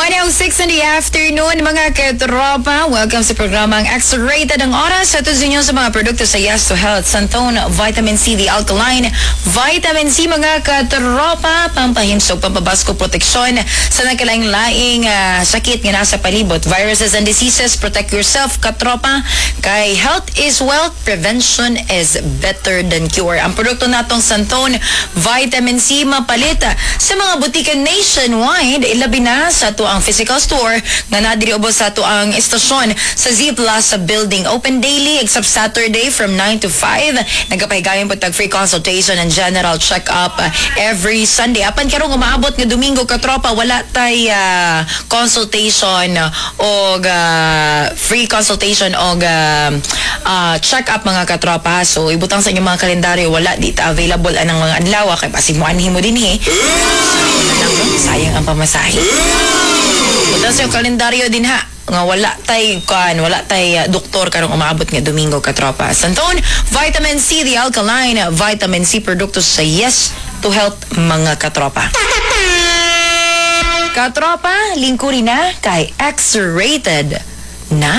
1:06 in the afternoon, mga katropa. Welcome sa programang X-Rated ang oras. Sa inyo sa mga produkto sa Yes to Health, Santone, Vitamin C, the Alkaline, Vitamin C, mga katropa, pampahimsog, pampabasko, proteksyon sa nagkalaing-laing sakit nga nasa palibot. Viruses and diseases, protect yourself, katropa. Kay health is wealth, prevention is better than cure. Ang produkto natong Santone, Vitamin C, mapalit sa mga butika nationwide, ilabi na sa atoang physical store nga nadiri ubos sa atoang istasyon sa Z Plaza Building. Open daily except Saturday from 9 to 5. Nagapahigayon po tag free consultation and general check-up every Sunday. Apan karong umaabot nga Domingo, katropa, wala tay consultation og free consultation og check-up, mga katropa. So ibutang sa inyong mga kalendaryo, wala dita available anang mga adlaw kay basig moanhi mo dinhi. Sayang ang pamasahe. Butang sa inyong kalendaryo din ha nga wala tay kan, wala tay doktor karong umaabot nga Domingo, katropa. Santone Vitamin C, the Alkaline Vitamin C, produkto sa Yes to Health, mga katropa. Katropa, lingkuri na kay X-Rated na.